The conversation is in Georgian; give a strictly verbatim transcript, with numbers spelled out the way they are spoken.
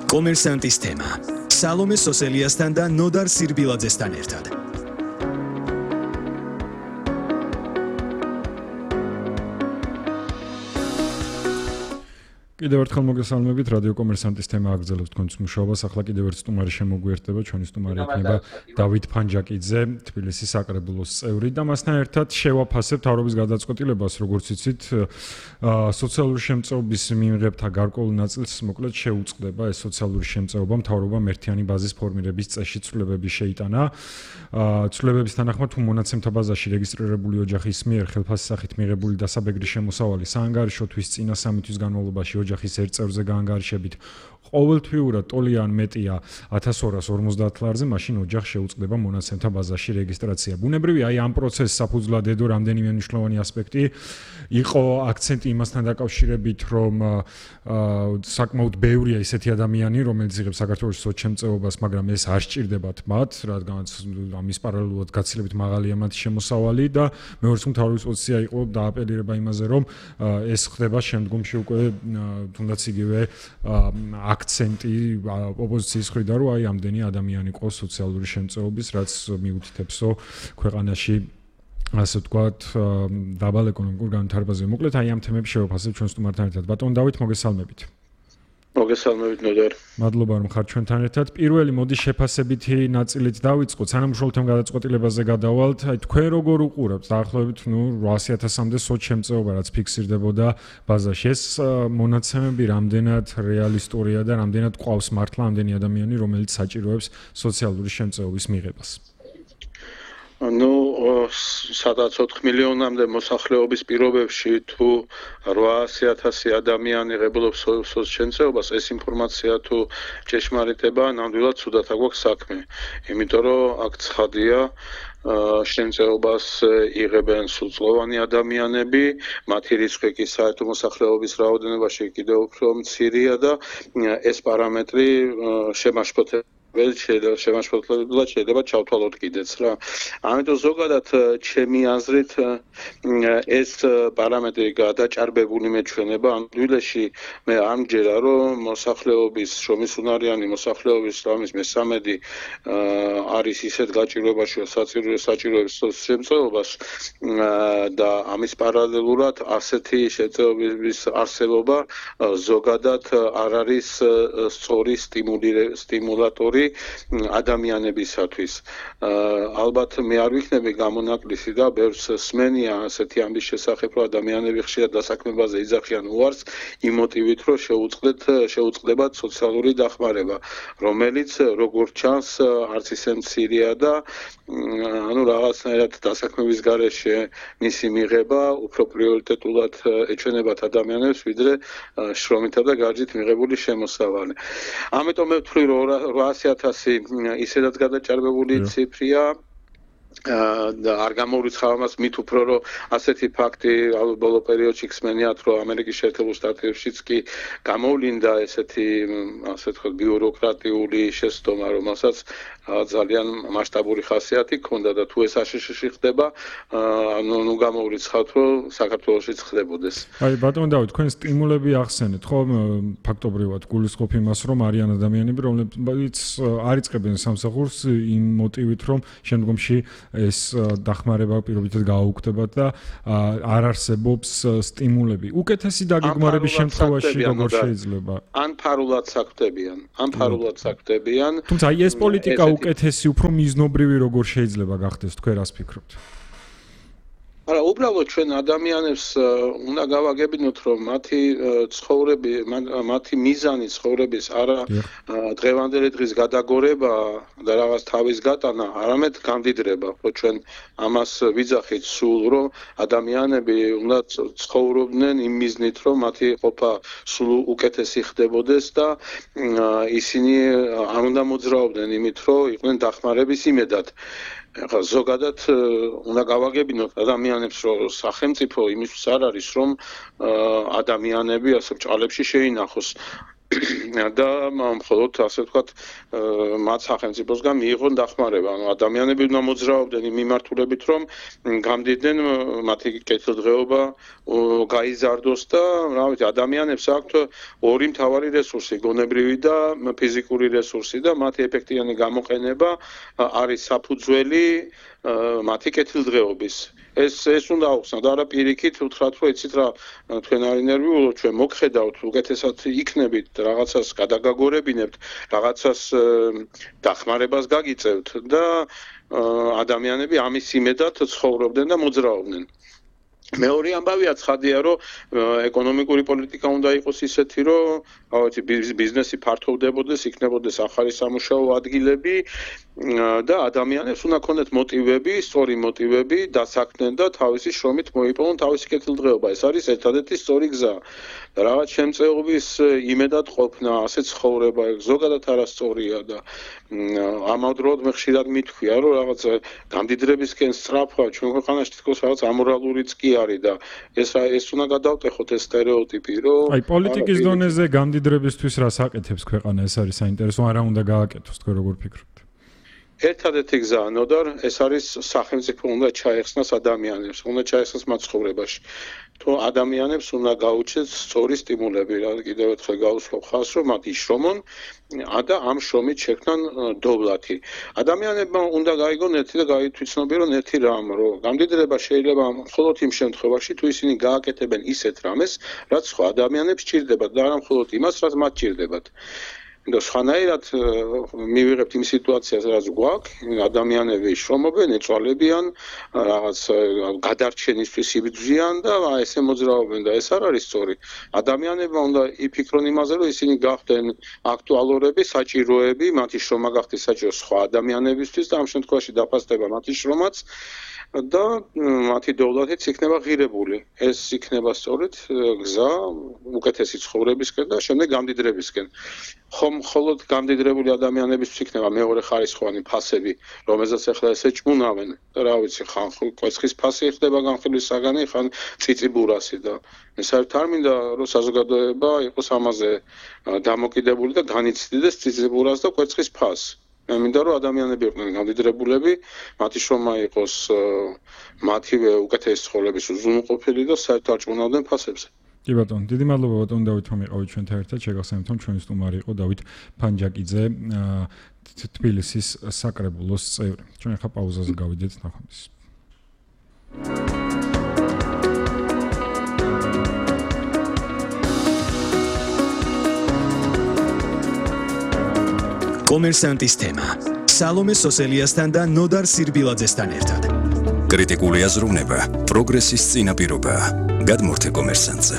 კომერსანტის თემა. სალომე სოსელიასთან და ნოდარ სირბილაძესთან ერთად. კიდევ ერთხელ მოგესალმებით, რადიო კომერსანტის თემა აგრძელებს თქვენს მუშაობას. ახლა კიდევ ერთ სტუმარი შემოგვიერთდება, ჩვენი სტუმარი იქნება დავით ფანჯაკიძე, თბილისის საკრებულოს წევრი და მასთან ერთად შევაფასებთ თავრობის გადაწყვეტილებას, როგორც იცით, სოციალური შემწეობის მიმღებთა გარკვეულ ნაწილს მოკლედ შეუწყდება ეს სოციალური შემწეობა მთავრობამ ერთიანი ბაზის ფორმირების წესში ცვლილებები შეიტანა. ცვლილებების თანახმად თუ მონაცემთა ბაზაში რეგისტრირებული ოჯახის მიერ ხელფასის სახით მიღებული დასაბეგრი შემოსავალი საანგარიშო თვის წინა სამი თვის განმავლობაში ოჯახის ერთ წევრზე გაანგარიშებით ყოველთვიურად ტოლი ან მეტია ათას ორას ორმოცდაათ ლარზე, მაშინ ოჯახს შეუწყდება მონაცემთა ბაზაში რეგისტრაცია. ბუნებრივია, აი ამ პროცესს საფუძვლად ედო რამდენიმე მნიშვნელოვანი ასპექტი. იყო აქცენტი იმასთან დაკავშირებით, რომ საკმაოდ ბევრია ისეთი ადამიანი, რომელიც იღებს საქართველოს სოცშემწეობას, მაგრამ ეს არ სჭირდებათ მათ, რადგანაც ამის პარალელურად გაცილებით მაღალია მათი შემოსავალი და მეორე მთავრობის პოზიცია იყო დააპელირება იმაზე, რომ ეს ხდება შემდგომში უკვე თუნდაც იგივე აქცენტი ოპოზიციის მხრიდან, რომ აი ამდენი ადამიანი ყავს სოციალური შემწეობის, რაც მიუთითებსო ქვეყანაში ასე ვთქვათ დაბალ ეკონომიკურ განვითარებაზე. მოკლედ აი ამ თემებს შევაფასებთ ჩვენ სტუმართან ერთად. ბატონ დავით, მოგესალმებით. მოგესალმებით ნოდარ. მადლობა რომ ხართ ჩვენთან ერთად. პირველი მოდი შეფასებითი ნაწილით დავიწყოთ. სანამ უშუალოდ გადაწყვეტილებაზე გადავალთ, აი თქვენ როგორ უყურებთ დაახლოებით ნუ რვაასი ათასამდე სოცშემწეობა რაც ფიქსირდებოდა ბაზაში. ეს მონაცემები რამდენად რეალისტურია და რამდენად ყავს მართლა ამდენი ადამიანი, რომელიც საჭიროებს სოციალური შემწეობის მიღებას? ну სადაც ოთხ მილიონამდე მოსახლეობის პირობებში თუ რვაასი ათასი ადამიანი ღებულობს სოცშემწეობას, ეს ინფორმაცია თუ ჭეშმარიტება, ნამდვილად ცუდად აგვაქვს საქმე. იმიტომ რომ აქ ცხადია შემწეობას იღებენ სრულწლოვანი ადამიანები, მათი რიცხვი კი საერთო მოსახლეობის რაოდენობაში კიდევ უფრო მცირეა და ეს პარამეტრი შემაშფოთება შემაშფოთებლად შეიძლება ჩავთვალოთ კიდეც რა. ამიტომ ზოგადად ჩემი აზრით ეს პარამეტრი გადაჭარბებული მეჩვენება ამ თბილისში მე არ მჯერა რომ მოსახლეობის შრომისუნარიანი მოსახლეობის რამის მესამედი არის ისეთ გაჭირვებაში საჭიროებს შემწეობას და ამის პარალელურად ასეთი შემწეობის არსებობა ზოგადად არ არის სწორი სტიმულატორი ადამიანებისათვის. ალბათ მე არ ვიქნები გამონაკლისი და ბევრს სმენია ასეთი ამის შესახებ, რომ ადამიანები ხშირად დასაქმებაზე იძახიან უარს იმ მოტივით, რომ შეუწყდეთ შეუწყდებათ სოციალური დახმარება, რომელიც როგორც ჩანს არც ისე მცირეა და ანუ რაღაცნაირად დასაქმების გარეშე მისი მიღება უფრო პრიორიტეტულად ეჩვენებათ ადამიანებს, ვიდრე შრომითა და გარჯით მიღებული შემოსავალი. ამიტომ მე ვთვლი რომ რვაასი ათასი ისედაც გადაჭარბებული ციფრია და არ გამოვრიცხავ ამას მით უფრო რომ ასეთი ფაქტი ბოლო პერიოდში ხსმენიათ რომ ამერიკის შეერთებულ შტატებშიც კი გამოვლინდა ესეთი ასე ვთქვათ ბიუროკრატიული შეცდომა, რომელსაც ძალიან მასშტაბური ხასიათი ჰქონდა და თუ ეს აშშ-ში ხდება, ანუ ნუ გამოვრიცხავთ რომ საქართველოშიც ხდებოდეს. აი ბატონ დავით, თქვენ სტიმულები ახსენეთ, ხო, ფაქტობრივად გულისხმობ იმას, რომ არიან ადამიანები, რომლებიც არ იწყებენ სამსახურს იმ მოტივით, რომ შემდგომში ეს დახმარება პირობითად გააუქმდებათ და არ არსებობს სტიმულები. უკეთესი დაგეგმარების შემთხვევაში როგორ შეიძლება? ან ფარულად საქმდებიან, ან ფარულად საქმდებიან. თუმცა აი ეს პოლიტიკა უკეთესი, უფრო მიზნობრივი როგორ შეიძლება გახდეს, თქვენ რას ფიქრობთ? არა, უბრალოდ ჩვენ ადამიანებს უნდა გავაგებინოთ, რომ მათი ცხოვრები, მათი მიზანი ცხოვრების არა დღევანდელი დღის გადაგორება და რაღაც თავის გატანა, არამედ გამდიდრება, ხო ჩვენ ამას ვიძახით სულ, რომ ადამიანები უნდა ცხოვრობდნენ იმ მიზნით, რომ მათი ყოფა სულ უკეთესი ხდებოდეს და ისინი არ უნდა მოძრაობდნენ იმით, რომ იყვნენ დახმარების იმედად. ახლა ზოგადად უნდა გავაგებინოთ ადამიანებს, რომ სახელმწიფო იმისთვის არ არის, რომ ადამიანები ასე ბრჭყალებში შეინახოს. და მხოლოდ ასე ვთქვათ მათ სახელმწიფოსგან მიიღონ დახმარება. ანუ ადამიანები უნდა მოძრაობდნენ იმ მიმართულებით, რომ გამდიდნენ მათი კეთილდღეობა გაიზარდოს და რა ვიცი, ადამიანებს აქვთ ორი მთავარი რესურსი, გონებრივი და ფიზიკური რესურსი და მათი ეფექტიანი გამოყენება არის საფუძველი მათი კეთილდღეობის. ეს ეს უნდა აუხსნათ, არა პირიქით უთხრათ, რომ იცით რა, თქვენ არ ინერვიულობთ, ჩვენ მოგხედავთ, უკეთესად იქნებით, რაღაცას გადაგაგორებინებთ, რაღაცას დახმარებას გაგიწევთ და ადამიანები ამის იმედად ცხოვრობდნენ და მოძრაობდნენ. მეორე ამბავია ცხადია, რომ ეკონომიკური პოლიტიკა უნდა იყოს ისეთი, რომ ავეთი ბიზნესი ფართოვდებოდეს, იქნებოდეს ახალი სამუშაო ადგილები და ადამიანებს უნდა ქონდეთ მოტივები, სწორი მოტივები დასაქმდნენ და თავისი შრომით მოიპოვონ თავისი კეთილდღეობა. ეს არის ერთადერთი სწორი გზა. რაღაც შემწეობის იმედად ყოფნა, ასე ცხოვრება, ზოგადად არასწორია და ამავდროულად მე ხშირად მithქვია, რომ რაღაც გამდიდრებისკენ სწრაფვა ჩვენ ქვეყანაში თითქოს რაღაც ამორალურიც კი არის და ეს ეს უნდა გადავტეხოთ ეს სტერეოტიპი, რომ აი პოლიტიკის დონეზე გამდიდრებისთვის რას აკეთებს ქვეყანა, ეს არის საინტერესო, არა უნდა გააკეთოს, თქვენ როგორ ფიქრობთ? ერთადერთი გზა ნოდარ, ეს არის სახელმწიფო უნდა ჩაეხსნას ადამიანებს, უნდა ჩაეხსნას მათ ცხოვრებაში. თუ ადამიანებს უნდა გაუჩეს სწორი სტიმულები, რა კიდევ ერთხელ გავუსვამ ხაზს, რომ მათ იშრომონ და ამ შრომით შექმნან დოვლათი. ადამიანებმა უნდა გაიგონ ერთი და გაითვითცნობიერონ ერთი რამ, რომ გამდიდრება შეიძლება მხოლოდ იმ შემთხვევაში, თუ ისინი გააკეთებენ ისეთ რამეს, რაც სხვა ადამიანებს სჭირდებათ და არა მხოლოდ იმას, რაც მათ სჭირდებათ. და სხვანაირად მივიღებთ იმ სიტუაციას, რაც გვაქვს, ადამიანები შრომობენ, ეწვალებიან, რაღაც გადარჩენისთვის იბრძვიან და ესე მოძრაობენ და ეს არ არის სწორი. ადამიანებმა უნდა იფიქრონ იმაზე, რომ ისინი გახდნენ აქტუალურები, საჭიროები, მათი შრომა გახდეს საჭირო სხვა ადამიანებისთვის და ამ შემთხვევაში დაფასდება მათი შრომაც და მათი დოვლათიც იქნება ღირებული. ეს იქნება სწორედ გზა უკეთესი ცხოვრებისკენ და შემდეგ გამდიდრებისკენ. ხომ მხოლოდ გამდიდრებული ადამიანებისთვის იქნება მეორე ხარისხოვანი ფასები, რომელზეც ახლა ესე ჭმუნავენ და რა ვიცი, ხან კვეცხის ფასი ხდება განხილვის საგანი, ხან წიწიბურასი და ეს არ თარმინდა რომ საზოგადოება იყოს ამაზე დამოკიდებული და განიცდიდეს წიწიბურას და კვეცხის ფასს. მე მინდა რომ ადამიანები იყვნენ გამდიდრებულები, მათი შრომა იყოს მათივე უკეთესი ცხოვრების უზრუნველყოფილი და საერთოდ არ ჭმუნავდნენ ფასებზე. კი ბატონო, დიდი მადლობა ბატონო დავით რომ იყავით ჩვენთან ერთად. შეგახსენებთ რომ ჩვენი სტუმარი იყო დავით ფანჯაკიძე, თბილისის საკრებულოს წევრი. ჩვენ ახლა პაუზაზე გავიდეთ, ნახვამდის. კომერსანტის თემა. სალომე სოსელიასთან და ნოდარ სირბილაძესთან ერთად. კრიტიკული აზროვნება პროგრესის წინაპირობაა. გადმორთე კომერსანტზე.